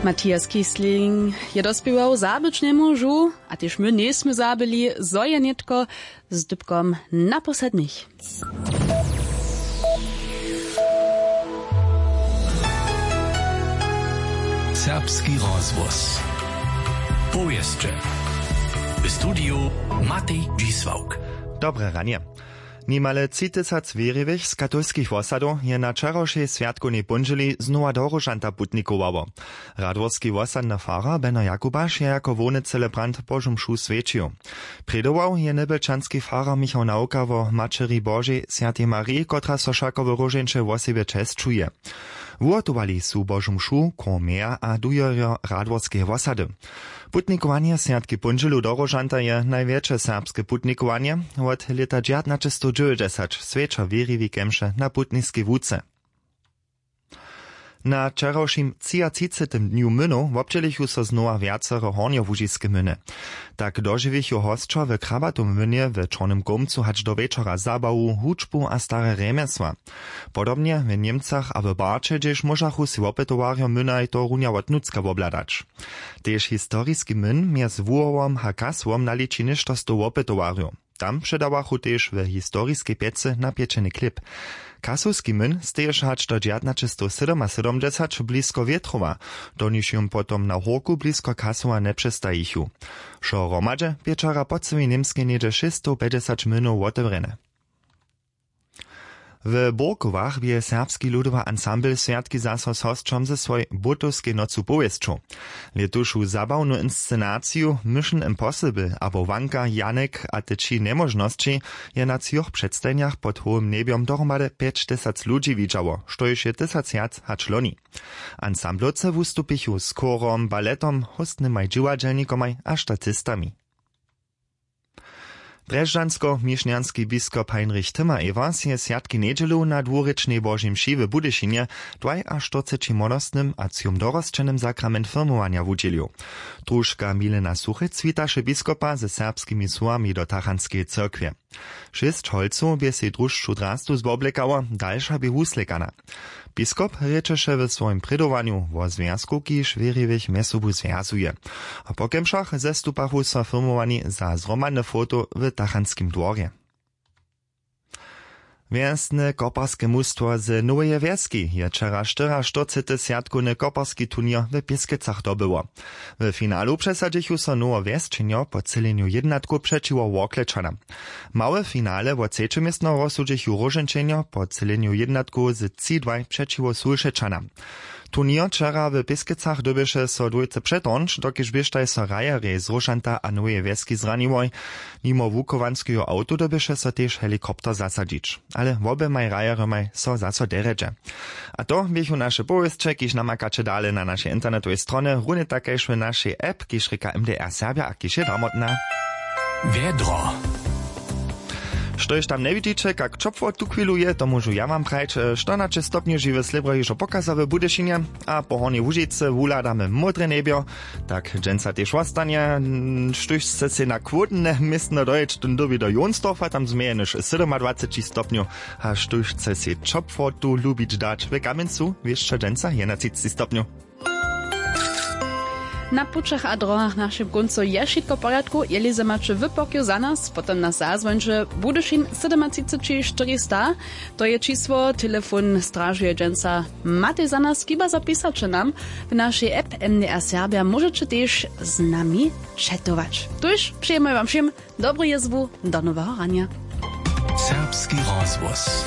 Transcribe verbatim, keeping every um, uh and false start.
Matthias Kiesling je dospěwał zabyć njemóžu, a tež my njejsmy zabyli, zo je nětko z dypkom naposljednich. Serbski rozhłos. Powěsće. W studiju Matej Dźisławk. Dobre ranje. Nimale tři tysac wěriwych z katolskich wosadow je na wčerawšej swjatkownej póndźěli znowa do Róžanta putnikowało. Radworski wosadny farar Beno Jakubaš je jako hłowny celebrant Božu mšu swjećił. Prědował je njebjelčanski farar Michał Nawka wo Maćeri Božej, swjatej Mariji, kotraž so wšako w Róžeńće wosebje česćuje. Wuhotowali su Božu mšu, chór Meja a dujerjo Radworskeje wosady. Putnikowanje swjatki póndźělu do Róžanta je najwjetše serbske putnikowanje. Wot lěta dźewjatnaćestowdźewjećdźesać swjeća wěriwi kemše na putniskej łuce. Na wčerawšim třiatřicetym dnju mynow wobdźělichu so znowa wjacere hornjołužiske myny. Tak dožiwichu hosćo w Krabatow mynje w Čornym Kołmcu hač do wječora zabawu, hudźbu a stare rjemjesła. Podobnje w Němcach a w Barće, hdźež móžachu sej wopytowarjo mynaj to runja wot nutřka wobhladać. Tež historiski myn mjez Wuhowom a Kasłom naliči něšto stow wopytowarjow. Tam předawachu tež w historiskej pjecy napječeny chlěb. Kasłowski myn steješe hač do dźewjatnaćestowsydomasydomdźesać blisko Wětrowa, doniž jón potom na hórku blisko Kasłowa njepřestajichu. Wšo hromadźe bě wčera po cyłej Němskej něhdźe šěsćstowpjećdźesać mynow wotewrjene. W Burkowach bě Serbski ludowy ansambl swjatki zaso z hosćom ze swojej Błótowskej nocu powěsćow. Lětušu zabawnu inscenaciju Mission Impossible abo Wanka, Janek a te tři njemóžnosći je na třoch předstajenjach pod hołym njebjom dohromady pjećtysac ludźi widźało, štož je tysac wjac hač loni. Ansamblowcy wustupichu z chórom, baletom, hóstnymaj dźiwadźelnikomaj a statistami. Drježdźansko-mišnjanski biskop Heinrich Timmer-Evers je swjatki njedźelu na dwurěčnej Božej mši w Budyšinje dwajaštyrceći młodostnym a třom dorosćenym sakrament firmowanja wudźělił. Družka Milena Suchec witaše biskopa ze serbskimi słowami do tachantskeje cyrkwje. Šěsć holcow bě sej družšu drastu zwoblekało, dalša bě wuslěkana. Biskop rěčeše w swojim prědowanju wo zwjazku, kiž wěriwych mjez sobu zwjazuje. A po kemšach zestupachu so firmowani za zhromadne foto w tachantskim dworje. Wjesne koparske mustwo z Noweje Wjeski je wčera štyriaštyrcety swjatkowny koparski turněr w Pěskecach dobyło. W finalu přesadźichu so Nowowjesčenjo po třělenju jědnatkow přećiwo Worklečanam. Małe finale wo třeće městno rozsudźichu Róžeńčenjo po třělenju jědnatkow z tři dwaj přećiwo Sulšečanam. Turněr wčera w Pěskecach dyrbješe so dwójce přetornć, dokelž běštaj so hrajerjej z Róžanta a Noweje Wjeski zraniłoj. Nimo wuchowanskeho awto dyrbješe so tež helikopter zasadźić. Ale woběmaj hrajerjomaj so zaso derjedźe. A to běchu naše powěsće, kiž namakaće dale na našej internetowej stronje, runje tak kaž w našej app, kiž rěka M D R Serbja a kiž je damotna. Wjedro. Štož tam njewidźiće, kak ćopło tuchwilu je, to móžu ja wam prajć. Štyrnaće stopnjow žiwy slěbro hižo pokaza w Budyšinje a po Hornjej Łužicy wuhladamy módre njebjo. Tak dźensa tež wostanje. Štóž chce sej na chłódne městno dojěć, tón dyrbi do Jonsdorfa, tam změje jenož sydomadwaceći stopnjow. A štóž chce sej ćopłotu lubić dać w Kamjencu, wěsće dźensa jedenatřiceći stopnjow. Na pućach a drohach w našim kóncu je wšitko w porjadku. Jeli zo maće wy pokiw za nas, potom nas zazwońće. Budyšin sydomatřiceći štyrista, to je čisło. Telefon stražuje dźensa Matej za nas, chiba zapisaće nam w našej app M D R Serbja, móžeće tež z nami četować. Tuž přejemy wam wšěm dobru jězbu, do noweho ranja. Serbski rozhłos.